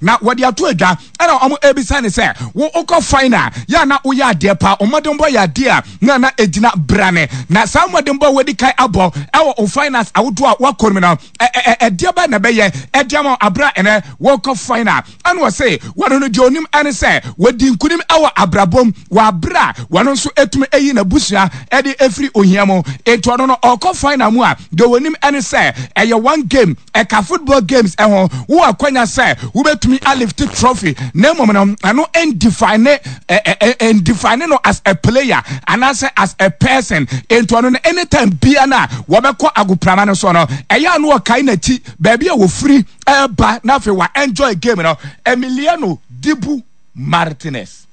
Na wɔde ato adwa ɛna wɔn ɛrebisa ne sɛ wo wokɔ final yɛ a na woyɛ adeɛ paa, wo mmɔdenbɔ yɛ adeɛ a na na ɛgyina brane, na saa mmɔdenbɔ a wadi kan abɔ ɛwɔ wo finals ahodoɔ a woakɔ no mu no ɛdeɛ bɛn na ɛbɛyɛ ɛde ama wo aberɛ a ɛnɛ wɔkɔ final? Ɛna ɔse wɔno no deɛ onim ɛne sɛ wɔdi nkunim ɛwɔ abrabɔ mu wɔ aberɛ a wɔno nso ɛtumi ɛyi n'abusua ɛde ɛfiri ohia mu, enti ɔno no ɔkɔ final mu a deɛ onim ɛne sɛ ɛyɛ one game ɛka football games ɛho, wowɔ akwanya sɛ wobɛtumi alifte trophy, na mmom no ɛno ɛndefine ɛndefine no as a player anaasɛ as a person. Enti ɔno no anytime bia no a wɔbɛkɔ agoprama no so no ɛyɛ a no ɔkae n'akyi baabi a wɔfiri ɛba na afei wa enjoy game no. Emiliano Dibu Martinez.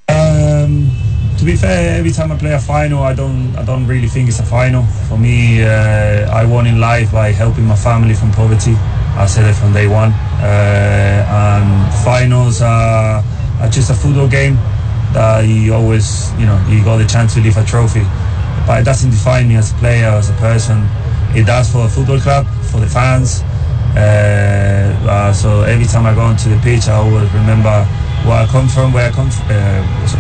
To be fair, every time I play a final, I don't really think it's a final. For me, I won in life by helping my family from poverty. I said it from day one. And finals are just a football game that you always, you got the chance to lift a trophy. But it doesn't define me as a player, as a person. It does for a football club, for the fans. So every time I go onto the pitch, I always remember where I come from, where I come,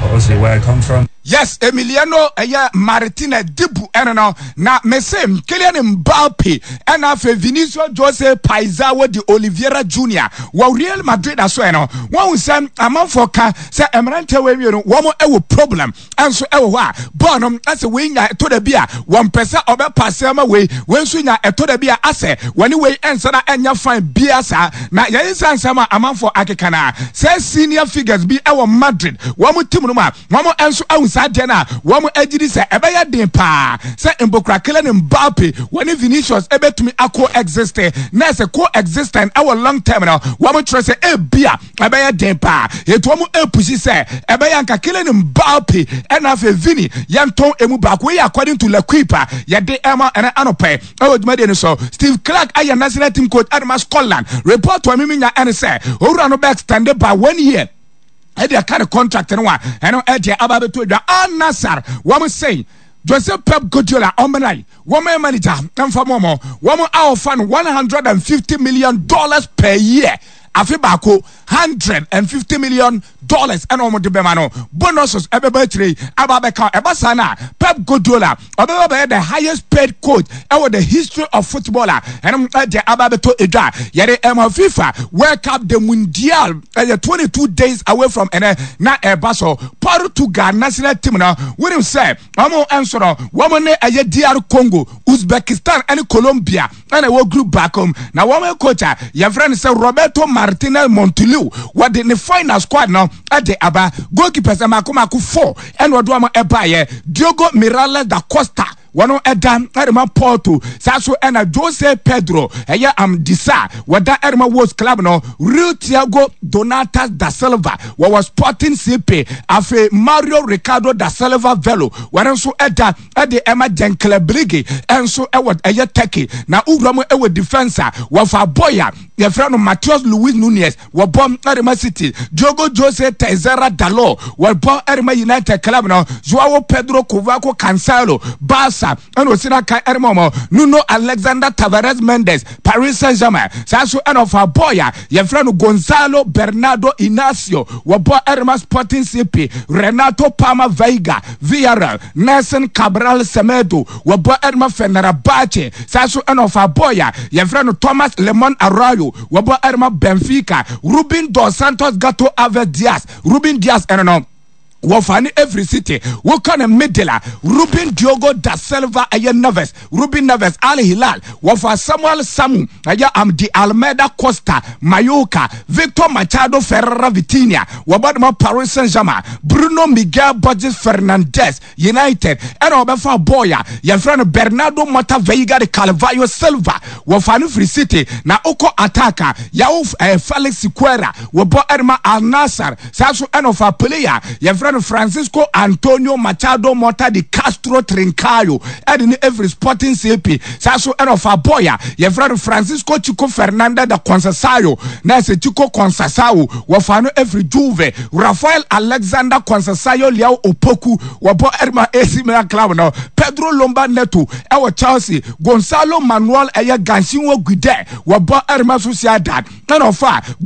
obviously where I come from. Yes, Emiliano ɛyɛ Martinez Dibu ɛno no na mese Kylian Mbappe ɛna afei Vinicius Jose Paizao de Oliveira Junior wɔ Real Madrid aso ɛno wɔn sɛ amanfoɔ ka sɛ mmeranteɛ wɔ awie no wɔn ɛwɔ problem ɛnso ɛwɔ hɔ a bɔɔl no ɛsɛ wei nya ɛtɔ da bi a wɔn pɛ sɛ ɔbɛ pass ama wei, wei nso nya ɛtɔ da bi a asɛ wɔne wei ɛnsa na ɛnya fine bia saa. Na yɛn nsa nsɛm a amanfoɔ akeka na sɛ senior figures bi ɛwɔ Madrid wɔn team no mu a wɔn nso ahu saa deɛ no a wɔn agyi di sɛ ɛbɛyɛ den paa sɛ mbokura Kylian Mbappe wɔne Vinicius ɛbɛtumi akɔ exist na ɛsɛ co existent ɛwɔ long term no. Wɔn kyerɛ sɛ ebia ɛbɛyɛ den paa etu wɔn epush sɛ ɛbɛyɛ anka Kylian Mbappe ɛna afei Vini yɛntɔn emu baako yi, according to L'Equipe a yɛde ɛma ɛnɛ anɔpɛ ɛwɔ dwumadie no so. Steve Clarke ayɛ national team coach ɛde ma Scotland. Report a mimi nya ɛne sɛ owura no bɛ extend by one year ɛde aka ne contract no a ɛno ɛde aba abɛto adwa. Al Nassr wɔn sɛn Joseph Pep Guardiola ɔmena wɔn yɛ manager mfa mɔ wɔn a ɔfa no $150 million per year, afe baako $150 million ɛna wɔn de bɛma no, bonuses ɛbɛba akyire yi aba abɛka. Ɛba saa na Pep Guardiola ɔbɛba bɛyɛ the highest paid coach ɛwɔ the history of football a ɛno ɛde aba abɛtɔ edwa. Yɛde ɛma FIFA World Cup, the Mundial, ɛyɛ 22 days away from ɛnɛ na ɛba so. Portugal national team no, wɔnim sɛ wɔn nso no wɔn ne ɛyɛ DR Congo, Uzbekistan ɛne Colombia ɛna ɛwɔ group baako mu. Na wɔn coach a yɛfrɛ no sɛ Roberto Martinez Montoliu, wɔde ne final squad no ɛde aba. Goalkeepers mako mako four ɛna ɔde wɔn ɛbaayɛ: Diogo Miralles da Costa, wɔn ɛda ɛde Porto, saa so ɛna Jose Pedro ɛyɛ Amdisa, wɔda ɛde ma Wolves club no, Real Tiago Donatas da Silva, wɔwɔ Sporting CP, afei Mario Ricardo da Silva Velo, wɔn nso ɛda ɛde ɛma Gençlerbirliği ɛnso ɛwɔ ɛyɛ Turkey. Na wura mu ɛwɔ defence a, wɔfa boy a yɛfrɛ no Matheus Luis Nunes, wɔbɔ ɛde ma City, Diogo Jose Teixeira Dalo, wɔbɔ ɛde ma United club no, Joao Pedro Kovaco Cancelo, Barca ɛna osi n'aka ɛde ma wɔn, Nuno Alexander Tavares Mendes, Paris Saint-Germain, saa so ɛna ɔfa boy a yɛfrɛ no Gonzalo Bernardo Inacio, wɔbɔ ɛde ma Sporting CP, Renato Palma Veiga, Villarreal, Nelson Cabral Semedo, wɔbɔ ɛde ma Fenerbahce, saa so ɛna ɔfa boy a yɛfrɛ no Thomas Lemon Arroyo, wɔbɔ ɛde ma Benfica, Ruben dos Santos Gato Alves Dias, Ruben Dias ɛno no wɔfa ne every city. Woka ne middle a, Ruben Diogo da Silva ɛyɛ Neves, Ruben Neves, Al Hilal, wɔfa Samuel Samu ɛyɛ Amdi Almeida Costa, Mallorca, Victor Machado Ferreira Vitinha, wɔbɔ de ma Paris Saint-Germain, Bruno Miguel Borges Fernandez, United, ɛna wɔbɛfa boy a yɛfrɛ no Bernardo Mota Veiga de Carvalho Silva, wɔfa no firi City. Na wokɔ attack a, Yawo Felix Siqueira, wɔbɔ ɛde ma Al Nassr, saa so ɛna ɔfa player yɛfrɛ no Francisco Antonio Machado Mota de Castro Trincaio, ɛde ne every Sporting CP, saa so ɛna ɔfa boy a yɛfrɛ no Francisco Chico Fernandez da Conceição, na ɛsɛ Chico Conceição, wɔfa no every Juve, Rafael Alexander Conceição Leao Opoku, wɔbɔ ɛde ma AC Milan club no, Pedro Lomba Neto ɛwɔ Chelsea, Gonzalo Manuel ɛyɛ Gansinwo Guide, wɔbɔ ɛde ma Sociedad, ɛna ɔfa